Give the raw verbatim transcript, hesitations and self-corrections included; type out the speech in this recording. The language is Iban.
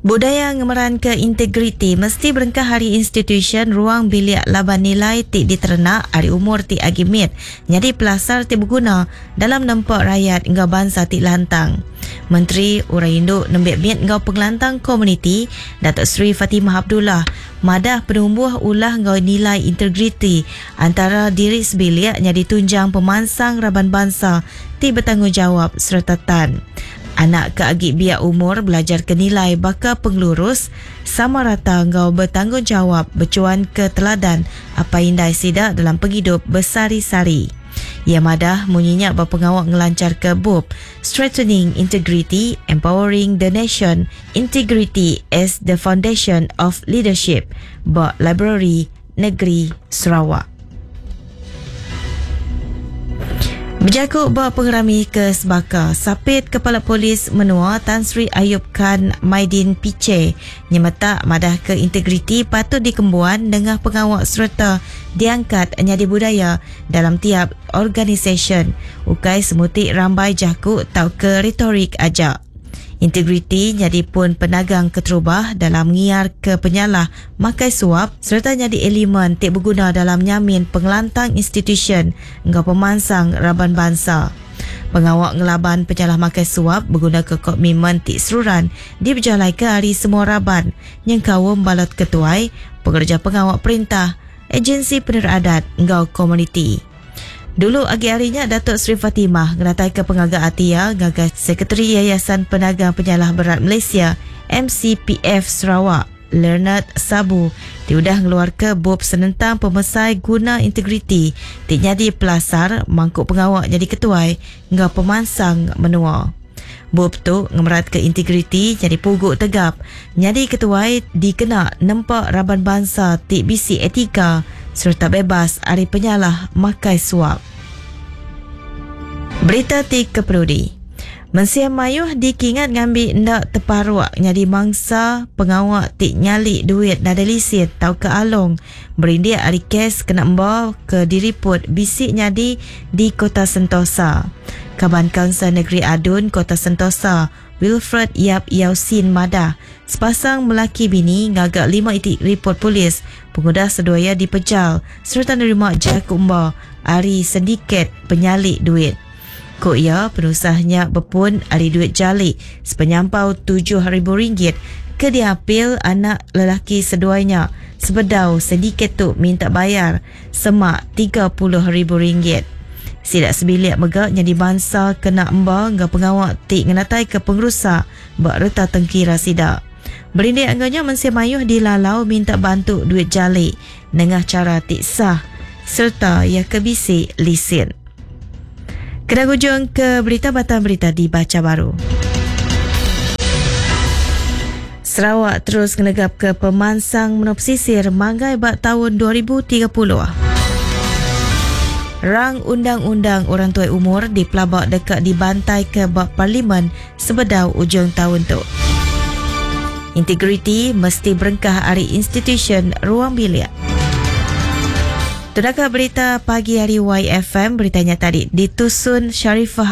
Budaya ngemeranka integriti mesti berengkah ari institusyen ruang bilik laban nilai ti diterenak ari umur ti agi mit nyadi pelasar ti beguna dalam nempa rayat enggau bansa ti lantang. Menteri Orang Indu Nembiak Mit enggau Pengelantang Komuniti, Datuk Seri Fatimah Abdullah madah penumbuh ulah enggau nilai integriti antara diri sebilik nyadi tunjang pemansang raban bansa ti betanggungjawap sereta tan. Anak ke agi biak umur belajarka nilai baka pengelurus, sama rata enggau betanggungjawap bechuanka teladan apai indai sida dalam pengidup besehari-sehari. Iya madah munyi nya ba pengawa ngelancharka bup Strengthening Integrity, Empowering the Nation, Integrity as the Foundation of Leadership ba Librari Negeri Sarawak. Bejaku ba pengerami ke sebaka, Sapit Kepala Polis Menua Tan Sri Ayub Khan Maidin Piche nyemetak madahka integriti patut dikembuan nengah pengawa sereta diangkat nyadi budaya dalam tiap organisasyen, ukai semuti rambai jaku tauka retorik aja. Integriti nyadi pun penagang keterubah dalam ngiarka penyalah makai suap sereta nyadi elemen ti beguna dalam nyamin pengelantang institusyen enggau pemansang raban bansa. Pengawa ngelaban penyalah makai suap begunaka komitmen ti seruran dipejalaika ari semua raban nyengkaum bala ketuai, pengereja pengawa perintah, ejensi peneradat enggau komuniti. Dulu agi ari nya, Datuk Seri Fatimah ngenataika pengaga ati iya ngagai Sekretari Yayasan Penagang Penyalah Berat Malaysia, M C P F Sarawak, Leonard Sabu ti udah ngeluarka bup senentang pemesai guna integriti ti nyadi pelasar mangku pengawa nyadi ketuai enggau pemansang menua. Bup tu ngemeratka integriti nyadi pugu tegap nyadi ketuai dikena nempa raban bansa ti bisi etika sereta bebas ari penyalah makai suap. Berita ti keperudi. Mensia mayuh dikingat ngambi enda teparuk nyadi mangsa pengawa ti nyali duit nadai lisin tauka along berindik ari kes kena emba ke diriput bisi nyadi di Kota Sentosa. Kaban Kaunsil Negeri Adun Kota Sentosa, Wilfred Yap Yausin madah, sepasang melaki bini ngaga lima iti ripot polis pengudah seduaya dipejal sereta nerima jaku emba ari sindiket penyalik duit. Ku iya, penusahnya berpun ari duit jalik sepenyampau tujuh ribu ringgit ke diapil anak lelaki seduainya sebedau sindiket tu minta bayar semak tiga puluh ribu ringgit. Sidak sebilik mega nyadi bangsa kena emba enggau pengawa ti ngenatai ke pengerusak ba reta tengkira sidak. Berindik angganya mensia mayuh dilalau minta bantu duit jalik nengah cara ti sah serta ia ke bisi lisin. Kena ujung ke berita batang berita dibaca baru. Sarawak terus ngenegap ke pemansang menua pesisir manggai ba tahun dua ribu tiga puluh. Rang undang-undang orang tua umur dipelabak dekat dibantai ke bab parlimen sebedau ujung tahun tu. Integriti mesti berengkah ari institusyen ruang bilik. Tudakah berita pagi hari Y F M, beritanya tadi ditusun Sharifah